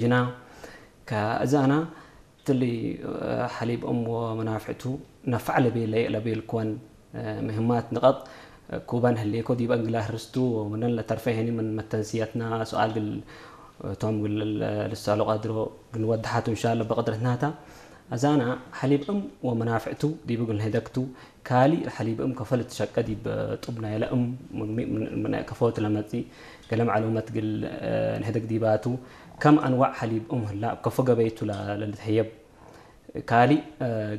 ጅና ከእዛና ትሊ ሓሊብ እም ወመናፍዕቱ ነፋዕ ለቤለ ለቤልኮን ምህማት ንቐጥ ኩበን ህሌኮ ዲበን ግላ ህርስቱ ምነን ለተርፈ ሄኒ ምን መተንስያትና ሱኣል ግል እቶም ግል ልሳሎ ቀድሮ ግንወድሓቱ እንሻለ በቅድረትናታ። እዛና ሓሊብ እም ወመናፍዕቱ ዲቡ ግል ንህደግቱ ካሊ ሓሊብ እም ከፈል ትሸቀ ዲብ ጡብ ናይለ እም ከፈወት ለመጺ ገለ ማዕሉመት ግል ንህደግ ዲባቱ ከም ኣንዋዕ ሓሊብ እም ህላ ከፎ ገበይቱ ለልትህየብ ካሊ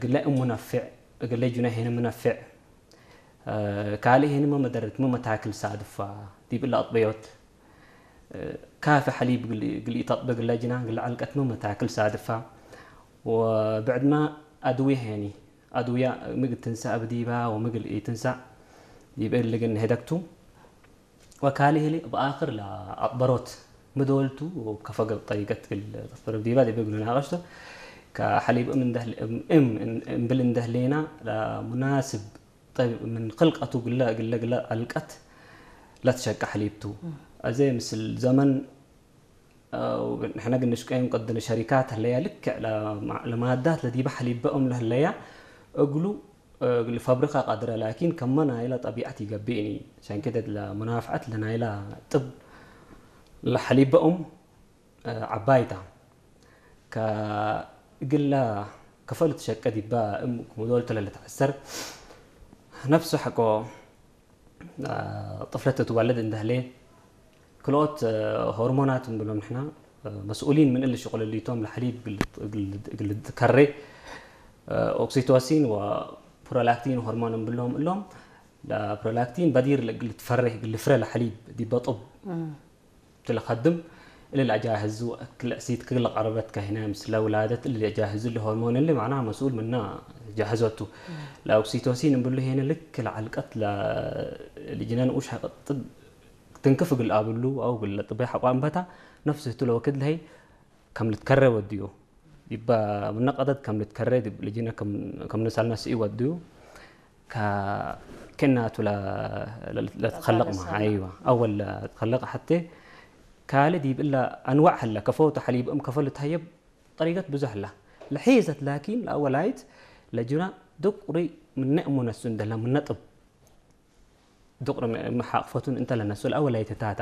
ግለ እም ሙነፍዕ ግለ ጁነ ሄን ምነፍዕ ካሊ ሄን መመደረት መመታክል ሳድፋ ዲብ እለ ኣጥበዮት ካፊ ሓሊብ ግል ተጥበ ግለ ጅና ግለ ዓልቀት መመታክል ሳድፋ ወብዕድማ ኣድዊ ሄኒ ኣድውያ ምግል ትንሳእ ብዲባ ወምግል ኢትንሳእ ይብእል ግን ሄደግቱ ወካሊ ህሊ ብኣኽር ለኣጥበሮት ምደወልቱ ከፈገብ ጠሪቀት ግል ተፈረብ ዲባ ዲበ ግሉ ናቀሽቶ ከሓሊብ እም እንደህል እም እም እምብል እንደህሌና ለሙናስብ ጠብ ምን ክልቀቱ ግለ ግለ ግለ ኣልቀት ለትሸቀ ሓሊብቱ። ኣዘ ምስል ዘመን ንሕና ግን ንሽቀዮም ቅድን ሸሪካት ህለያ ልክዕ ለማዳት ለዲበ ሓሊበኦም ለህለያ እግሉ ፋብሪካ ቃድረ ላኪን ከመ ናይላ ጠቢዓት ይገብእኒ ሸንክደት ለሙናፍዓት ለናይላ ጥብ ለሓሊበኦም ዓባይታ ከግላ ከፈሉ ትሸቀ ዲባ እም ክሙዶል ተለለ ተዓሰር ነፍሱ ሓቆ ጥፍለት ትዋለድ እንደህሌ ክልኦት ሆርሞናት ንብሎም ንሕና መስኡሊን ምን እል ሽቁልሊቶም ለሓሊብ ግልትከሬ ኦክሲቶሲን ወፕሮላክቲን ሆርሞን ንብሎም እሎም ፕሮላክቲን በዲር ግልትፈሬ ግልፍረ ለሓሊብ ዲበጡብ ትለኸድም እልል ኣጃህዙ ክልእሲት ክግለ ቀረበት ከህነ ምስለ ውላደት እልል ኣጃህዙ ለሆርሞን እሊ ማዕና መስኡል ምና ጃህዘቱ ለኦክሲቶሲን ንብሉ ሄነ ልክ ለዓልቀት ልጅነን ኡሽ ሓቀጥብ ትንክፍ ግል ኣብሉ ኣው ግለ ጥበይ ሓቋም በታ ነፍስ ህቱ ለወክድ ለሀይ ከም ልትከረ ወድዮ ይባ ምነቀደት ከም ልትከረ ልጅነ ከም ንሳልና ስኢ ወድዩ ከናቱ ለትኸለቅ ማ ኣይዋ ኣወል ለትኸለቅ ሓቴ ካልድ ይብላ ኣንዋዕ ሀለ ከፈውተ ሓሊብ እም ከፈሉ ተሀየብ ጠሪገት ብዙሕ ላ ለሒዘት ላኪን ለኣወላይት ለጅና ድቁሪ ምነ እሙ ነሱ እንደላ ምነጥብ ድቁሪ መሓቅፈቱን እንተ ለነሱ ለኣወላይት ታታ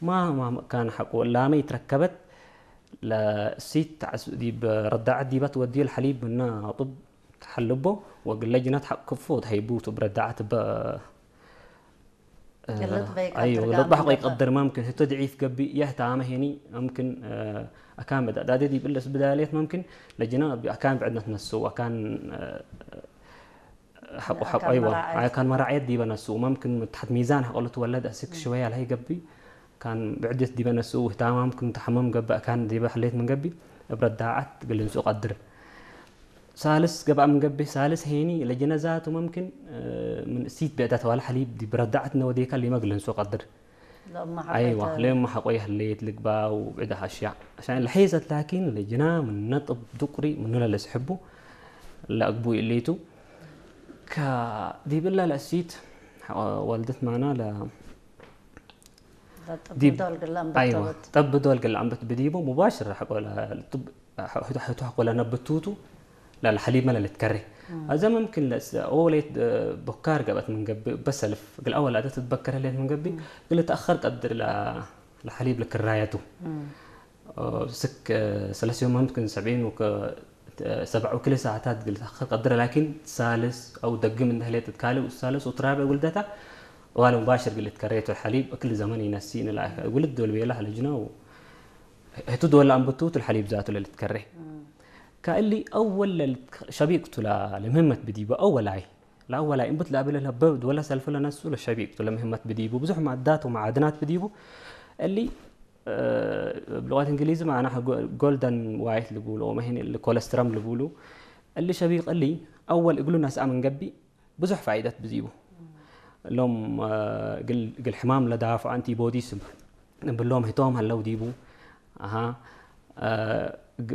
ማ ማ ካን ሓቁ ላመ ይትረከበት ለእሲት ዲብ ረዳዓት ዲባት ወዲዮ ለሓሊብ ምና ጡብ ተሓልቦ ወግለ ጅናት ሓቅ ክፉ ተሃይቡ ቱብ ረዳዓት በ ለጥባሕ ቆይ ቀድር ማምክን ህቶ ድዒፍ ገቢ የህታ ኣመ ሄኒ ኣምክን ኣካን በዳ ዳደ ዲብለስ ብዳልየት ማምክን ለጅና ኣካን ብዕድነት ነሱ ኣካን ሓቁ ሓቁ ኣይዋ ኣካን መራዕየት ዲበ ነሱ ማምክን ምትሓት ሚዛን ሓቆሉ ትወለድ ኣስክ ሽወያ ለሀይ ገቢ ካን ብዕድት ዲበ ነሱ ህታማም ክን ተሓመም ገባእ ካን ዲበ ሕሌት ምን ገቢ እብ ረዳዓት ግልንሱ ቀድር ሳልስ ገባእ ምን ገቢ ሳልስ ሄኒ ለጀነዛቱ መምክን ምን እሲት ብዕዳ ተዋለ ሓሊብ ዲብ ረዳዓት ነወዴካ ሊመ ግልንሱ ቀድር ኣይዋ ለማ ሓቆ የህሌት ልግባው ብዕዳ ሃሽያ عشان ለሐይዘት ላኪን ለጅና ምን ነጥብ ዱቁሪ ምኑ ለለስሕቡ ለአግቡ ኢሌቱ ከዲብላ ለእሲት ወልደት ማና ዲብ ጠብ ዶል ግላ ኣንበት ብዲቦ ሙባሽር ሕቶ ሕቆ ለነብቱቱ ለልሐሊብ መለ ልትከሬ ኣዘ መምክን ለስ ኦሌት ቦካር ገበት ምን ገብእ በሰልፍ ግል ኣወል ኣደ ትትበከረ ሌት ምን ገብእ ግል ተኣኸር ቀድር ለሐሊብ ልክራየቱ ስክ ሰለስዮ መምክን ሰብዒን ሰብዓ ወክልተ ሰዓታት ግል ተኣኸር ቀድረ ላኪን ሳልስ ኣው ደግም እንደህሌት ካልእ ሳልስ ወትራብዕ ውልደታ ዋለ ሙባሽር ግል ትከሬ ቱ ሐሊብ እክል ዘመን ይነሲ ንላ ውልድ ዶል ቤላ ለጅነው ህቱ ዶላ ኣንብቱ ቱ ሐሊብ ዛቱ ለልትከሬ ካእሊ ኣወል ሸቢቅቱ ለምህመት ብዲቡ ኣወላይ ለኣወላይ እንብት ለኣበለ ለበብ ወላ ሰልፈ ለነሱ ለሸቢቅቱ ለምህመት ብዲቡ ብዙሕ ማዳት ወማዓድናት ብዲቡ እሊ ብሉቃት እንግሊዝ ማዕና ጎልደን ዋይት ልብሉ መሄን ኮለስትረም ልብሉ እሊ ሸቢቅ እሊ ኣወል እግሉ ነስኣ መንገቢ ብዙሕ ፋይደት ብዚቡ እሎም ግል ሕማም ለዳፍዑ ኣንቲቦዲስ ንብሎም ህቶም ሀለው ዲቡ ኣሃ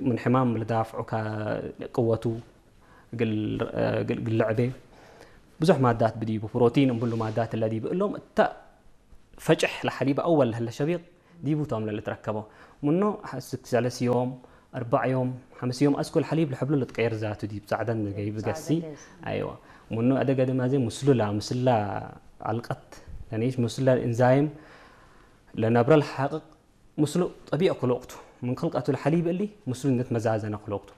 ምን ሕማም ለዳፍዑ ቅወቱ ግል ለዕቤ ብዙሕ ማዳት ብዲቡ ፕሮቲን እንብሉ ማዳት ለዲቡ እሎም እታ ፈጭሕ ለሐሊብ ኣወል ለሀለ ሸቢቅ ዲቡ ቶም ለልትረከቦ ምኖ ሓስክ ሰለስዮም ኣርባዕዮም ሓምስዮም ኣስኩል ሓሊብ ልሕብሉ ልትቀየር ዛቱ ዲብ ጻዕዳን ገይብ ገሲ ኣይዋ ምኖ ኣደገ ድማ ዘ ምስሉላ ምስላ ኣልቀት ለነይሽ ምስላ እንዛይም ለነብረ ልሓቅቅ ምስሉ ጠቢዕ ክልወቅቱ ምን ክልቀቱ ልሓሊብ እሊ ምስሉ ነት መዛዘነ ክልወቅቱ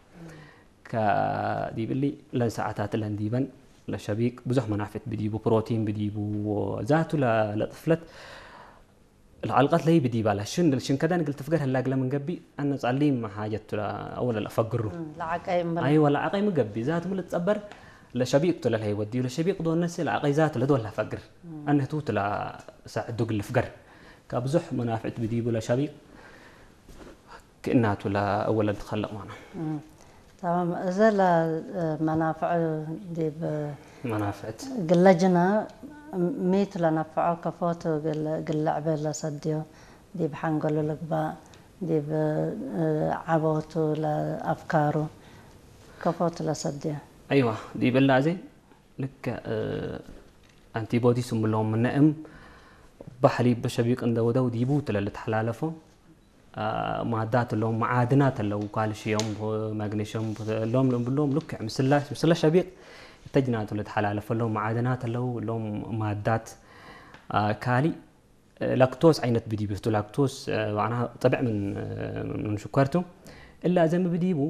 ከዲብ እሊ ለንሰዓታት ለንዲበን ለሸቢቅ ብዙሕ መናፍት ብዲቡ ፕሮቲን ብዲቡ ዛቱ ለጥፍለት ለዓልቀት ለይ ብዲባ ለሽን ሽንከዳን ግል ትፍገር ህላ ግለ ምን ገቢ ኣነ ጻሊም ሓጀት ቱላ ኣወለ ለፈግሩ ለዓቀይ እምበል ኣይወ ለዓቀይ ምን ገቢ ዛት ሙሉ ጸበር ለሸቢቅ ቱለ ለይ ወዲ ለሸቢቅ ዶ ነሲ ለዓቀይ ዛት ለዶ ለፈግር ኣነ ቱ ቱላ ሳዕዱ ግል ፍገር ካብ ብዙሕ መናፍዕት ብዲቡ ለሸቢቅ ክእናቱ ለኣወለ ትኸለቅ ማና تمام እዘ ለመናፍዕ ዲብ መናፍዕት ግለጅና ሚት ለነፍዖ ከፎቱ ግልዕበ ለሰድዮ ዲብ ሓንገሉ ልግባእ ዲብ ዓቦቱ ለኣፍካሩ ከፎቱ ለሰድዮ ኣይዋ ዲበላ እዘ ልክዕ ኣንቲቦዲስ እምሎም ምነእም ባሕሊ በሸቢቅ እንደወደው ዲቡ ትለ ልትሓላለፎ ማዳት ኣለዉ መዓድናት ኣለዉ ካልሽዮም ማግኔሽዮም ሎም ብሎም ልክዕ ምስላ ምስላ ሸቢቅ እተጅናቱ ልትሓላለፈ ኣለዉ መዓድናት ኣለዉ ሎም ማዳት ካሊእ ላክቶስ ዓይነት ብዲብ ቱ ላክቶስ ባዕና ጠብዕ ምን ምን ሽኮርቱ እላ ዘም ብዲቡ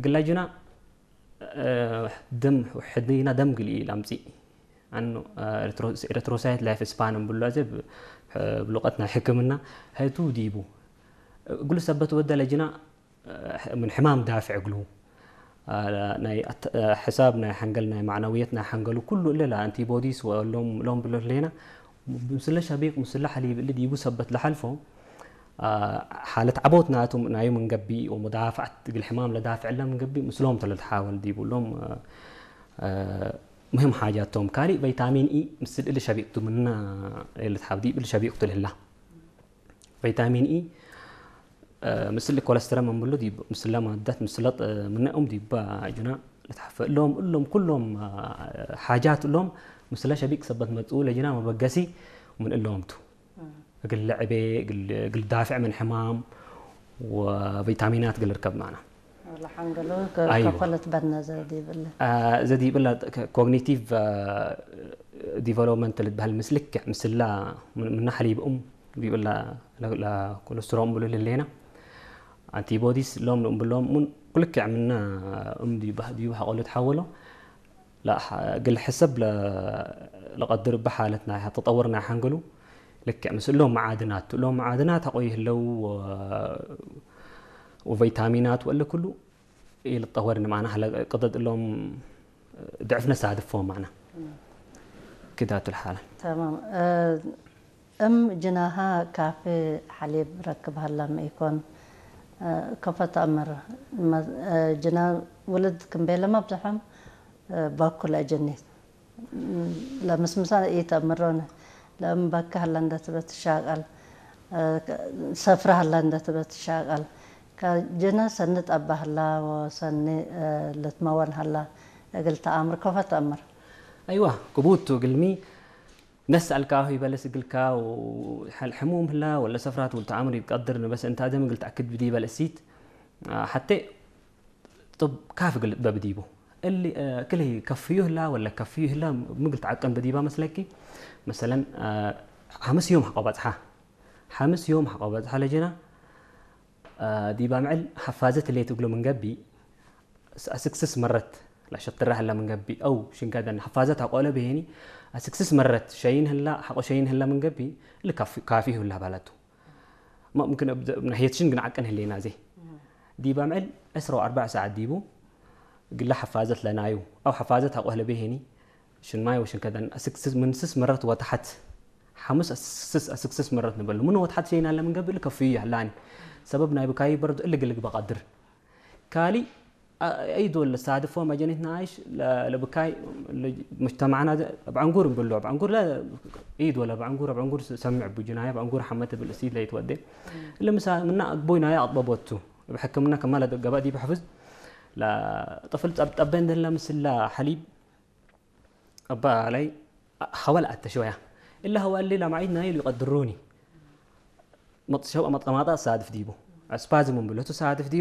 ግላጅና ደም ሕድና ደም ግልኢ ላምፂ ኣኖ ኤረትሮሳይት ላይፍ ስፓን ብሎ ዘ ብሉቀት ናይ ሕክምና ሀቱ ዲቡ እግሉ ሰበት ወደ ለጅና ምን ሕማም ዳፍዕ እግሉ ናይ ሕሳብ ናይ ሓንገል ናይ ማዕናውየት ናይ ሓንገሉ ኩሉ እለ ኣንቲቦዲስ ሎም ብሎ ሌና ምስለ ሸቢቅ ምስለ ሓሊብ እለ ዲቡ ሰበት ለሓልፎ ሓለት ዓቦት ናቱ ናዩ ምንገቢ ወሙዳፍዓት እግል ሕማም ለዳፍዕ እለ ምንገቢ ምስሎም ተለልትሓወል ዲቡ ሎም ሙሂም ሓጃቶም ካሊእ ቫይታሚን ኢ ምስል እሊ ሸቢቅቱ ምና ልትሓብ ዲብ እሊ ሸቢቅቱ ልህላ ቫይታሚን ኢ ምስል ኮለስትረም እንብሉ ዲብ ምስለ ማዳት ምስለ ምነኦም ዲባ ጁና ልትሓፈ እሎም እሎም ኩሎም ሓጃት እሎም ምስለ ሸቢቅ ሰበት መጽኡ ለጅና መበገሲ ምን እሎምቱ እግል ለዕቤ እግል ዳፍዕ ምን ሕማም ወቪታሚናት እግል ርከብ ማና ለሓንገሉ ከፈለት በነ ዘዲብለ ዘዲብላ ኮግኒቲቭ ዲቨሎፕመንት ልትበሃል ምስ ልክዕ ምስላ ምና ሓሊብኦም ዲብላ ኮለስትሮም ብሉ ልሌና ኣንቲቦዲስ ሎም ብሎም ምን ኩልክዕ ምና እም ዲቡ ሓቆሉ ትሓወሎ ግል ሕሰብ ለቀድር ብሓለት ናይ ተጠወር ናይ ሓንገሉ ልክዕ ምስ እሎም መዓድናት እሎም መዓድናት ኣቆይ ህለው ወቫይታሚናት ወለ ኩሉ ይልጠወር ንማና ለ ቅደድ እሎም ድዕፍ ነሳድፎ ማና ክዳቱ ልሓለ تمام እም ጅናሃ ካፌ ሓሊብ ረክብ ሃላ ምኢኮን ከፈት ኣምር ጅና ውልድ ክንቤለ መብዝሖም በኩል ኣጀኒት ለምስምሳ ኢተምሮነ ለእም በካ ሀላ እንደትበት ትሻቀል ሰፍራ ሀላ እንደትበት ትሻቀል ከጀነ ሰኒ ጠባ ሀላ ወሰኒ ልትመወን ሀላ እግል ተኣምር ከፈ ተእምር። ኣይዋ ቅቡቱ እግልሚ ነስ ኣልካሁ ይበለስ እግልካ ሕሙም ህላ ወለ ሰፍራት ውልተኣምር ይቀድር ንበስ እንታ ደም እግል ተኣክድ ብዲ ይበለሲት ሓቴ ጥብ ካፍ እግል በብዲቡ እሊ ክልይ ከፍዩ ህላ ወለ ከፍዩ ህላ ምግል ተዓቀን በዲባ መስለኪ መሰለን ሓምስ ዮም ሓቆ በጽሓ ሓምስ ዮም ሓቆ በጽሓ ለጀና ዲባ ምዕል ሓፋዘት ሌት እግሎ ምንገቢ ኣስክስስ መረት ላሸትራ ህላ ምንገቢ ኣው ሽንጋደን ሓፋዘት ኣቆለ ብሄኒ ኣስክስስ መረት ሸይን ህላ ሓቆ ሸይን ህላ ምንገቢ እሊ ካፊ ህላ ባላቱ ممكن ناحية شن قنع كان هلينا زي ديبا معل عشرة وأربع ساعات ديبو قل حفاظت لنايو أو حفاظت هقوه لبيهني شن ماي وشن كذا أسكسس من سس مرت وتحت ሓሙስ ኣስክስስ ኣስክስስ መረት ንበሉ ምኖ ወትሓት ሸይና ኣለ ምንገብእ ልከፍዩ ያላኒ ሰበብ ናይ ብካይ በርድ እልግልግ በቀድር ካሊ ኣይዶ ለሳድፎ መጀኒት ናይሽ ለብካይ مجتمعنا ኣብ ዕንጉር ብሎ ኣብ ዕንጉር ላ ኢድ ወላ ኣብ ዕንጉር ኣብ ዕንጉር ሰምዕ ቡጅናያ ኣብ ዕንጉር ሓመት ብል እሲድ ለይትወደ ለምሳ ምና ኣግቦይ ናያ ኣጥበቦቱ ኣብ ሕክምና ከማለ ገባእ ዲብ ሕፍዝ لا طفل ጠብጠበ እንደላ ምስላ ሓሊብ أبا علي هوا الأتش ويا إلا هوا اللي لا معيد نايل يقدروني መጥሸው መጥቀማጣ ሳድፍ ዲቡ ስፓዝም ብሎ ሳድፍ ዲቡ